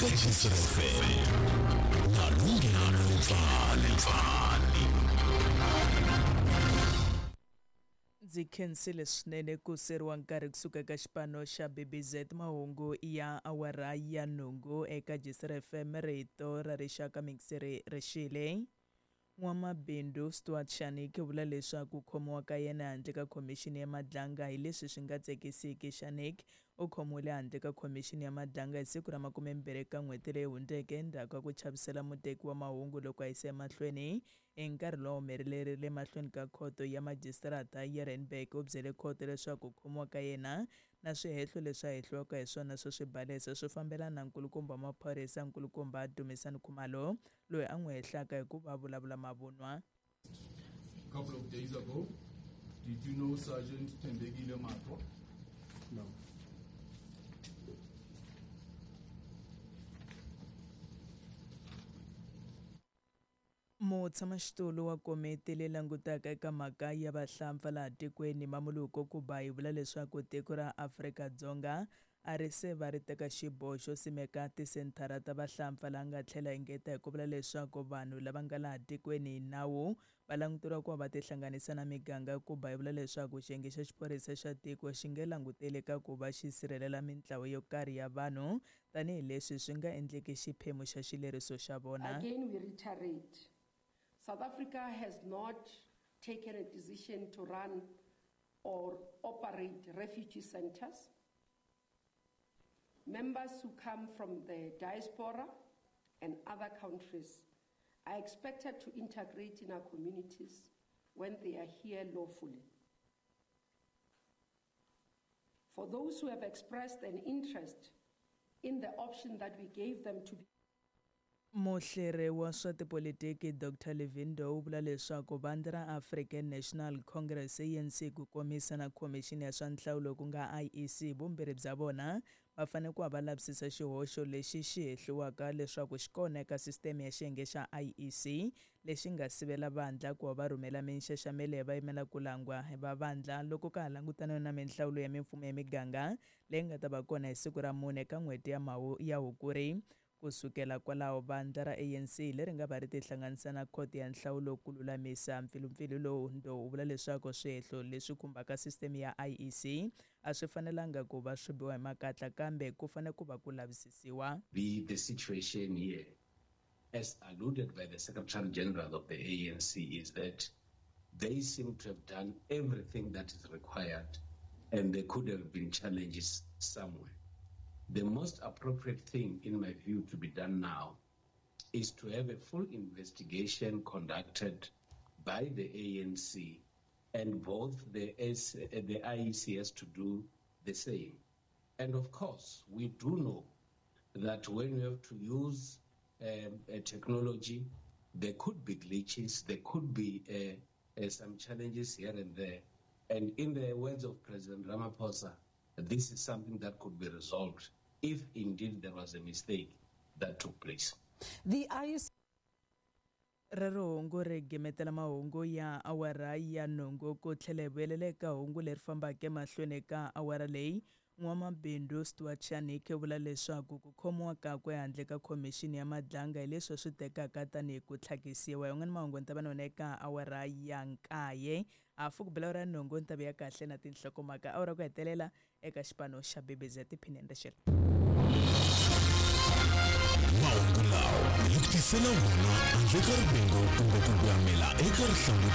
Eka Jisr FM na Lunghelo Mpfani. Ndzi khensile swinene ku seriwa nkarhi kusuka eka xipano xa BBZ mahungu ya awara ya nhungu eka Jisr FM rito ra rixaka mingiseri rixile. N'wamabindzu Stuart Shanik u vula leswaku ku khomiwa ka yena handle ka khomixini ya Madlanga hi leswi swi nga tsakisiki. Shanik u khomiwile handle ka khomixini ya Madlanga hi siku ra 20 ka n'hweti leyi hundzeke endzhaku ka ku chavisela muteki wa mahungu loko a yisa emahlweni hi nkarhi lowu humelerile mahlweni ka khoto ya majisitarata ya Randburg. U byele khoto leswaku ku khomiwa ka yena na swihehlo leswi a hehliwaka hi swona swo swi balesa swi fambelana na nkulukumba wa maphorisa nkulukumba Dumisani Khumalo loyi a n'wi hehlaka hi ku va vulavula mavunwa. A couple of days ago, did you know Sergeant Thembekile Matwa? No. Mutshamaxitulu wa komiti leyi langutaka eka mhaka ya vahlampfa laha tikweni Mamoloko Kubayi vula leswaku tiko ra Afrika-Dzonga a ri se va ri teka xiboho xo simeka tisenthara ta vahlampfa laha nga tlhela engeta hi ku vula leswaku vanhu lava nga laha tikweni hi nawu va languteriwa ku va va tihlanganisa na miganga. Kubayi vula leswaku xiyenge xa xiphorisa xa tiko xi nge languteli ka ku va xi sirhelela mintlawa yo karhi ya vanhu tanihileswi swi nga endleki xiphemu xa xileriso xa vona. Again, we reiterate, South Africa has not taken a decision to run or operate refugee centers. Members who come from the diaspora and other countries are expected to integrate in our communities when they are here lawfully. For those who have expressed an interest in the option that we gave them to be Muhleri wa swa tipolitiki Dr Levin Ndou u vula leswaku vandla ra African National Congress ANC ku komisa na khomixini ya swa nhlawulo ku nga IEC vumbirhi bya vona va fanele ku va va lavisisa xihoxo lexi xi hehliwaka leswaku xi kona eka sisiteme ya xiyenge xa IEC lexi nga sivela vandla ku va va rhumela minxaxamelo ya vayimela ku langwa va vandla loko ka ha langutaniwe na minhlawulo ya mimfumo ya miganga leyi nga ta va kona hi siku ra 4 ka n'hweti ya ya Hukuri. Ku sukela kwalaho vandla ra ANC leri nga va ri tihlanganisa na khoto ya nhlawulo ku lulamisa mpfilumpfilu lowu. Ndou u vula leswaku swihehlo leswi khumbaka sisiteme ya IEC a swi fanelanga ku va swi biwa hi makatla kambe ku fanele ku va ku lavisisiwa. Be the situation here, as alluded by the Secretary General of the ANC, is that they seem to have done everything that is required and there could have been challenges somewhere. The most appropriate thing, in my view, to be done now is to have a full investigation conducted by the ANC, and both the IEC has to do the same. And of course, we do know that when we have to use a technology, there could be glitches, there could be some challenges here and there. And in the words of President Ramaphosa, this is something that could be resolved if indeed there was a mistake that took place. The IEC Rero hungu ri gimetela mahungu ya awara ya nhungu ku tlhela hi vuyelela eka hungu leri fambaka emahlweni ka awara leyi. N'wamabindzu Stuart Shanik u vula leswaku ku khomiwa kakwe handle ka khomixini ya Madlanga hi leswi swi tekaka tanihi ku tlhakisiwa. Yin'wana mahungu ni ta va na wona eka awara ya 9 hafu ku bela awara ya nhungu ni ta vuya kahle na tinhlokomhaka awara ku hetelela eka xipano xa BBZ tiphineni rixela. Mahungu lawa hi ku tisela wona handle ka rivengo kumbe ku gwamela eka rihlanguti.